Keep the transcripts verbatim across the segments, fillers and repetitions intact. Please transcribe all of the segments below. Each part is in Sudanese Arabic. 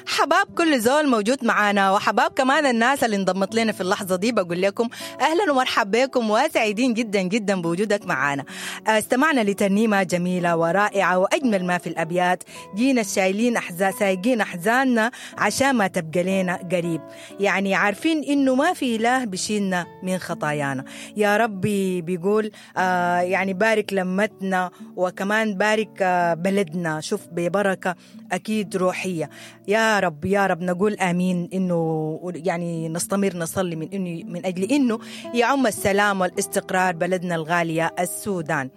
حباب كل زول موجود معانا، وحباب كمان الناس اللي انضمت لنا في اللحظة دي. بقول لكم أهلا ومرحبا بكم وسعيدين جدا جدا بوجودك معانا. استمعنا لترنيمة جميلة ورائعة، وأجمل ما في الأبيات جينا الشايلين أحزان سايقين أحزاننا عشان ما تبقى لنا قريب. يعني عارفين إنه ما في إله بشيلنا من خطايانا. يا ربي بيقول آه يعني بارك لمتنا، وكمان بارك آه بلدنا، شوف ببركة أكيد روحية. يا رب يا رب نقول آمين، إنه يعني نستمر نصلي من إنه من أجل إنه يعم السلام والاستقرار بلدنا الغالية السودان.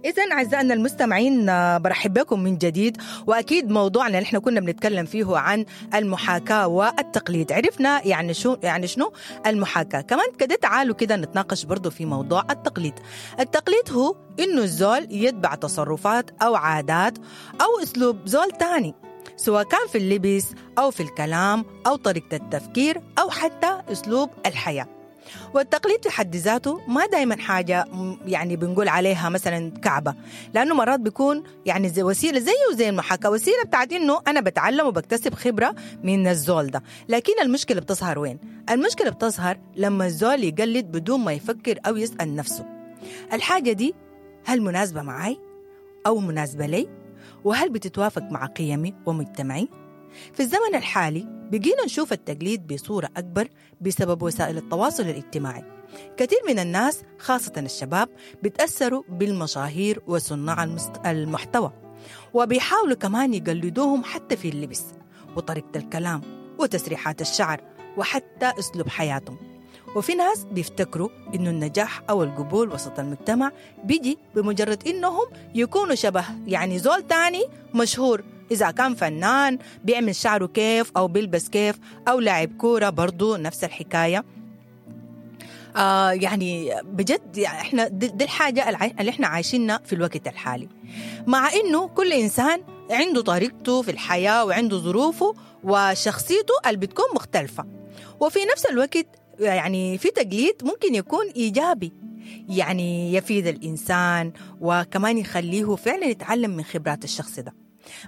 إذن أعزائنا المستمعين برحب بكم من جديد، وأكيد موضوعنا اللي احنا كنا بنتكلم فيه عن المحاكاة والتقليد. عرفنا يعني شو يعني شنو المحاكاة، كمان كده تعالوا كده نتناقش برضو في موضوع التقليد. التقليد هو إنه الزول يتبع تصرفات أو عادات أو أسلوب زول تاني، سواء كان في اللبس أو في الكلام أو طريقة التفكير أو حتى أسلوب الحياة. والتقليد في حد ذاته ما دايما حاجة يعني بنقول عليها مثلا كعبة، لأنه مرات بيكون يعني زي وسيلة زيه وزي المحاكاة، وسيلة بتاعت إنه أنا بتعلم وبكتسب خبرة من الزول ده. لكن المشكلة بتظهر وين؟ المشكلة بتظهر لما الزول يقلد بدون ما يفكر أو يسأل نفسه الحاجة دي هل مناسبة معي أو مناسبة لي؟ وهل بتتوافق مع قيمي ومجتمعي؟ في الزمن الحالي بقينا نشوف التقليد بصورة أكبر بسبب وسائل التواصل الاجتماعي. كثير من الناس خاصة الشباب بيتأثروا بالمشاهير وصناع المحتوى، وبيحاولوا كمان يقلدوهم حتى في اللبس وطريقة الكلام وتسريحات الشعر وحتى أسلوب حياتهم. وفي ناس بيفتكروا إنه النجاح أو القبول وسط المجتمع بيجي بمجرد إنهم يكونوا شبه يعني زول تاني مشهور، إذا كان فنان بيعمل شعره كيف أو بيلبس كيف أو لاعب كورة برضو نفس الحكاية. آه يعني بجد يعني إحنا دي, دي الحاجة اللي إحنا عايشينها في الوقت الحالي، مع إنه كل إنسان عنده طريقته في الحياة وعنده ظروفه وشخصيته اللي بتكون مختلفة. وفي نفس الوقت يعني في تقليد ممكن يكون إيجابي، يعني يفيد الإنسان وكمان يخليه فعلا يتعلم من خبرات الشخص ده.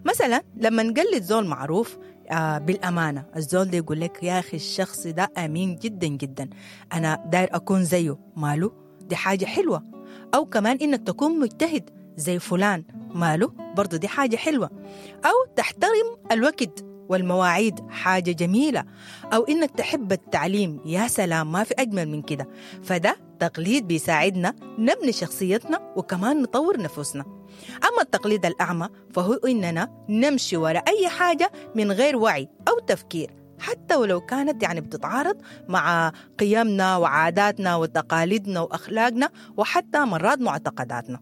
مثلا لما نقلد زول معروف آه بالأمانة، الزول ده يقول لك يا أخي الشخص ده أمين جدا جدا، أنا داير أكون زيه، ماله دي حاجة حلوة. أو كمان إنك تكون مجتهد زي فلان، ماله برضو دي حاجة حلوة. أو تحترم الوقت والمواعيد، حاجة جميلة. أو إنك تحب التعليم، يا سلام ما في أجمل من كده. فده تقليد بيساعدنا نبني شخصيتنا وكمان نطور نفوسنا. أما التقليد الأعمى فهو إننا نمشي وراء أي حاجة من غير وعي أو تفكير، حتى ولو كانت يعني بتتعارض مع قيمنا وعاداتنا وتقاليدنا وأخلاقنا وحتى مرات معتقداتنا.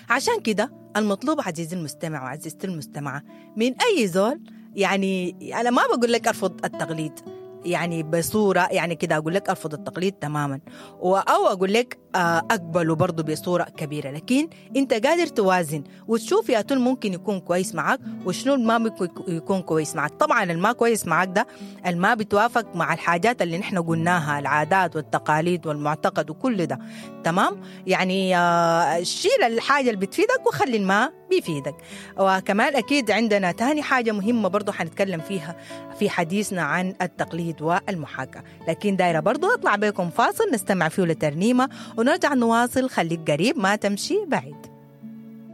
عشان كده المطلوب عزيزي المستمع وعزيزتي المستمعة من أي زول، يعني أنا ما بقول لك أرفض التقليد يعني بصورة يعني كده أقول لك أرفض التقليد تماما، أو أقول لك أقبله برضو بصورة كبيرة، لكن أنت قادر توازن وتشوف يا تول ممكن يكون كويس معك وشنو ما ممكن يكون كويس معك. طبعا الما كويس معك ده الما بتوافق مع الحاجات اللي نحن قلناها، العادات والتقاليد والمعتقد وكل ده، تمام؟ يعني شيل الحاجة اللي بتفيدك وخلي الما بيفيدك. وكمان أكيد عندنا تاني حاجة مهمة برضو حنتكلم فيها في حديثنا عن التقليد والمحاكاة، لكن دايرة برضو أطلع بكم فاصل نستمع فيه لترنيمة ونرجع نواصل. خليك قريب ما تمشي بعيد.